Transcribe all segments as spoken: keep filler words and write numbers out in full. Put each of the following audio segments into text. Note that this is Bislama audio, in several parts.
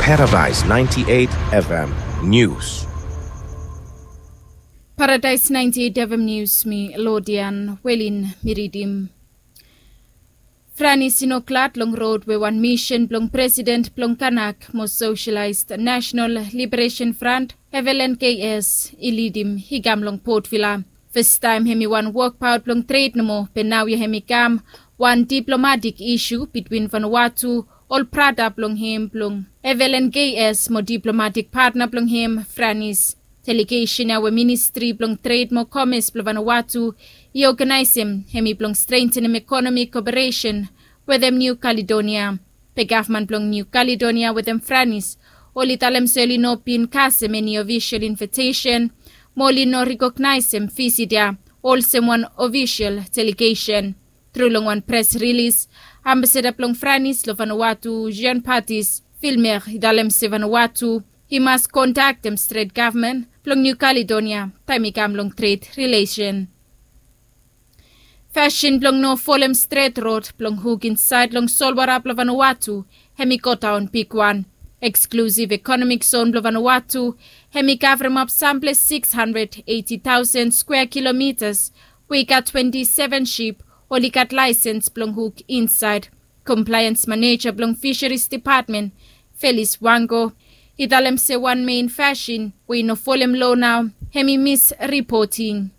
Paradise ninety-eight F M News. Paradise ninety-eight F M News, mi Lodian Welin mi ridim. Franis i no glad long rod we wan misin blong president blong Kanak mo Socialized National Liberation Front, Evelyn K S, i lidim i kam long Port Vila. Fastaem hem i wan wokbaot blong tred nomo, be naoia hem i kam wan diplomatik isu bitwin Vanuatu, ol brata blong hem blong Evelyn K S mo diplomatik patna blong hem Franis. Delegesen ya we Ministri blong Tred mo Komes blong Vanuatu i oganaesem hem i blong strentenem ekonomik koperesen wetem Niu Kaledonia. Be gavman blong Niu Kaledonia wetem Franis oli talem se oli no bin kasem eni ofisol invitesen mo oli no rekognaesem visit ya olsem wan ofisol delegesen. Tru long wan pres rilis, ambasada blong Franis long Vanuatu, Jean Baptiste Vilmer, i talem se Vanuatu i mas kontaktem stret gavman blong Niu Kaledonia taem i kam long tred rilesen. Fasin blong no folem stret rod blong huk insaed long solwota blong Vanuatu hem i godaon bigwan. Eksklusiv ekonomik zon blong Vanuatu hem i kavremap samples sikis handred eiti taosen skwea kilomitas we i gat twenti seven sip oli gat laesens blong huk insaed. Komplaens maneja blong Fisheries Depatmen, Felis Wango, i talem se wan mein fasin we i no folem loa nao hem i misripoting.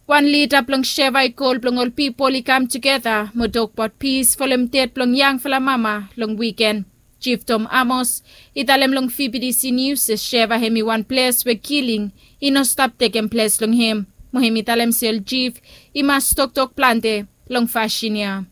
Wan lida blong Sheva i kol blong ol pipol i kam tugeta mo tokbaot pis folem ded blong yangfala mama long wiken. Jif Tom Amos i talem long V B T C Nius se Sheva hem i wan ples we kiling i no stap tekem ples long hem, mo hem i talem se ol jif i mas toktok plante long fasin ya.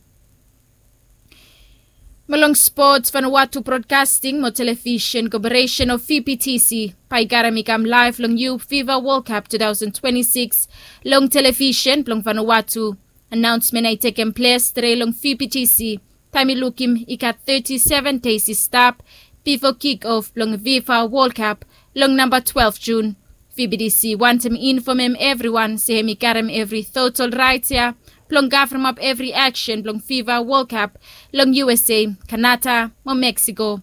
Mo long spots, Vanuatu Broadcasting mo Television Corporation o V B T C bae i karem i kam laev long Youth Fifa World Cup two thousand twenty-six long television blong Vanuatu. Anaonsmen ya i tekem ples tre long V B T C taem i lukim i gat thirty-seven days i stap bifo kick off blong Fifa World Cup long namba twelve June. V B T C wantem infomem evriwan se hem i karem evri total raet ya blong kavremap evri aksen blong Fifa World Cup long U S A, Kanada mo Mexico.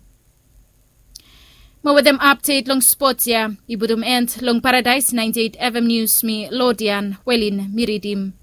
Mo wetem apdet long spot ya i putum end long Paradise ninety-eight F M News, mi Lodian Welin mi ridim.